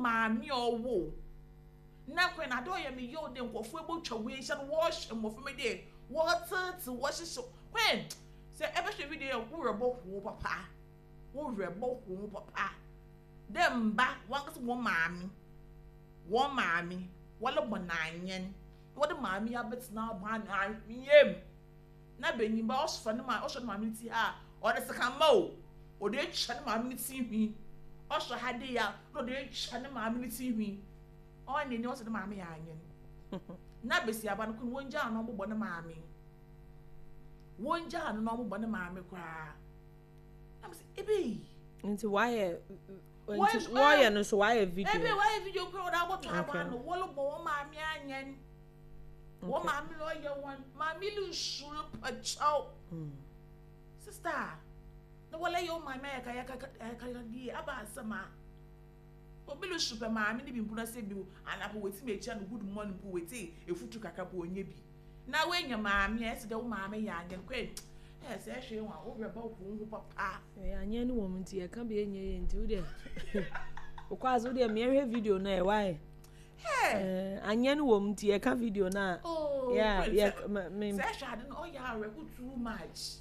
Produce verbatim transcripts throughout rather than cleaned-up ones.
Maame a ɔwɔ na kwan na ade ɔyɛ me yɛ ɔde nkɔfoɔ ebotwa wo ehyia no, wɔhyɛ mmɔfra mi de wɔtete wɔhyehyɛ kwan sɛ ɛbɛhwɛ video yɛ wo rebɔ ho papa, wo rebɔ ho papa dɛ mba wankasa wɔn maame wɔn maame wɔle bɔ n'anyɛn, wɔde maame abɛtena abɔ ano ahwea mu na benyimba ɔsɔ ne ma ɔsɔ ne maame ti ha, ɔde sekamma o, ɔde atwa ne maame ne ti hwi, ɔsɔ ha de ya na ɔde atwa ne maame ne ti hwi, ɔyɛ n'ani ɔsɛ ne maame yɛ anyɛn na besiaba no kun wɔn gya ano ɔbobɔ ne maame, wɔn gya ano na ɔbobɔ ne maame koraa na mo sɛ ebe. Nti wayɛ nti wɔyɛ no so wayɛ video? Ebe wayɛ video koraa, ɔde abɔtɔ abɔ ano, wɔlebɔ wɔn maame anyɛn, wɔn maame na ɔyɛ wɔn maame no nsuro pakyɛw sister na wɔlɛ yɛ wɔn maame ayɛ kaya kaya die aba asɛm a obi lo su pɛ maame ne bi mpo na sɛ bi anapɔ wɔti mi ekyia no good morning mpo, wɔti efutu kakra po onye bi na wɔanya maame a ɛsɛ dɛ wo maame yɛ anyɛn kwan ɛyɛ sɛ ɛhwɛ wɔn a wɔwerɛ bɔ wɔn ho papa. Ɛyɛ anyɛn no wɔ mu nti yɛka bi enye yɛ nti wodeɛ okɔ ase wodeɛ mmeɛhwɛ video no ɛ wae anyɛn no wɔ mu nti yɛka video no a. Oh, yeah, yeah, me sɛ ɛhwɛ ade no ɔyɛ awerɛho too much,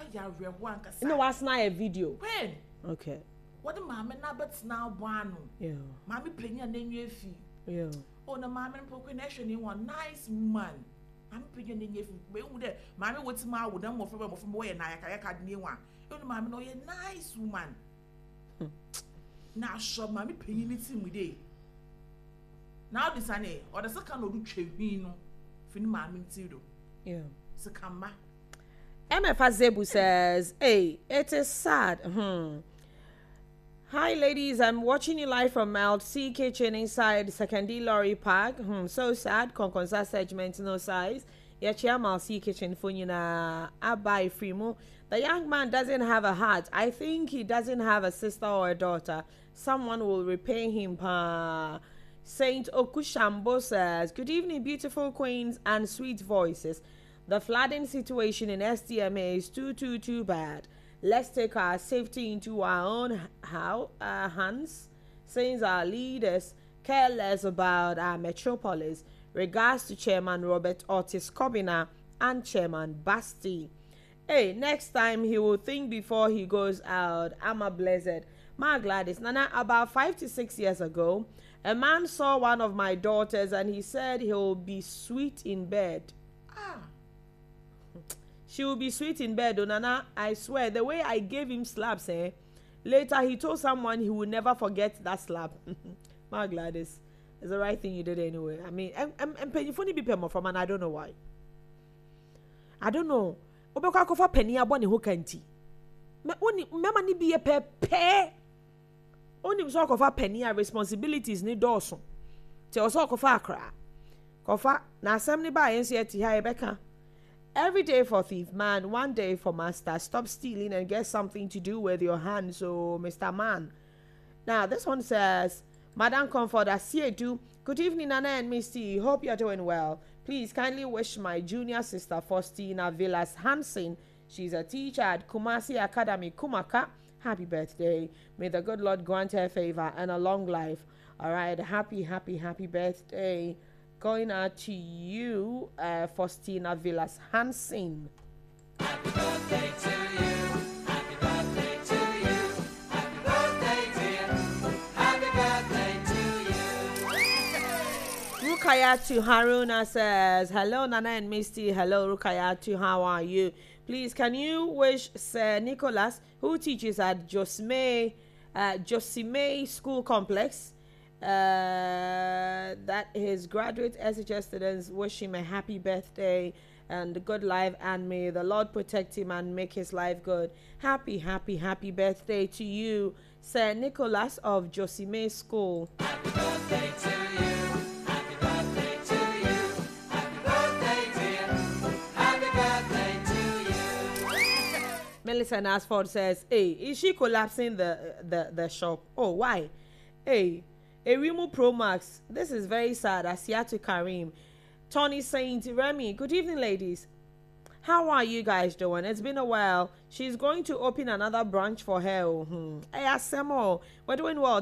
ɔyɛ awerɛho ankasa. Ɛna wasena ayɛ video? Kwan. Okay. Wɔde maame no abɛtena abɔ ano, maame panyin a n'enyi efi. Yeah. Oh, na maame no mpo na ɛhwɛ ne ho nice woman, maame panyin a n'enyi efi ehu dɛ maame wɔ ti mu awo dɛm mmɔfra bɛ mmɔfra bɛ wɔyɛ na ayakayaka de ne ho a ɛnu maame no ɔyɛ nice woman na asɔ maame panyin ne ti mu de na ɔde sane ɔde sika na ɔde twa hwii no fi ne maame ti do. Yeah. Sika mma. M F Zebu says, "Hey, it is sad. Hmm. Hi, ladies. I'm watching you live from Mount C Kitchen inside Sekondi Lorry Park. Hmm, so sad. Konkonsa segment, no size. Yɛkyia Mount C Kitchen foɔ nyinaa aba free. The young man doesn't have a heart. I think he doesn't have a sister or a daughter. Someone will repay him. Pa. Saint Okushambo says, "Good evening, beautiful queens and sweet voices. The flooding situation in S D M A is too, too, too bad. Let's take our safety into our own how, uh, hands, since our leaders care less about our metropolis. Regards to Chairman Robert Otis Kobina and Chairman Basti. Hey, next time he will think before he goes out. I'm a blessed. Ma Gladys, Nana, about five to six years ago, a man saw one of my daughters and he said he'll be sweet in bed." Ah. "She will be sweet in bed, oh Nana. I swear, the way I gave him slaps, eh? Later, he told someone he will never forget that slap." Ma Gladys, it's the right thing you did anyway. I mean, and and and bi pɛ from and I don't know why. I don't know. Wobɛkɔ akɔfa panin abɔ ne ho ka nti. Mmarima no bi yɛ pɛpɛɛ. Onim sɛ ɔkɔfa panin a responsibilities ne dɔɔso. Nti ɔsɛ ɔkɔfa akora. Kɔfa na asɛm ne baa yɛn nso yɛte ha yɛbɛka. "Every day for thief man, one day for master. Stop stealing and get something to do with your hands, oh, Mister Man." Now, this one says, "Madam Comfort Asiedu, good evening, Nana and Misty. Hope you're doing well. Please kindly wish my junior sister Faustina Villas Hansen. She's a teacher at Kumasi Academy, Kumaka. Happy birthday. May the good Lord grant her favor and a long life." All right, happy, happy, happy birthday going out to you, uh, Faustina Villas Hansen. Happy birthday to you. Happy birthday to you. Happy birthday, dear. Happy birthday to you. Rukayatu Haruna says, "Hello, Nana and Misty. Hello, Rukayatu. How are you? Please, can you wish Sir Nicholas, who teaches at Josme, uh, Josime School Complex, uh, that his graduate S H S students wish him a happy birthday and good life, and may the Lord protect him and make his life good." Happy, happy, happy birthday to you, Sir Nicholas of Josime School. Happy birthday to you. Happy birthday to you. Happy birthday, dear. Happy birthday to you. Millicent Asford says, "Hey, is she collapsing the the the shop? Oh, why? Hey, Erimu Pro Max. This is very sad." Asiatu Karim. Tony Saint Remy, "Good evening, ladies. How are you guys doing? It's been a while. She's going to open another branch for her. Oh, hmm. Hey, Asemo, we're doing well."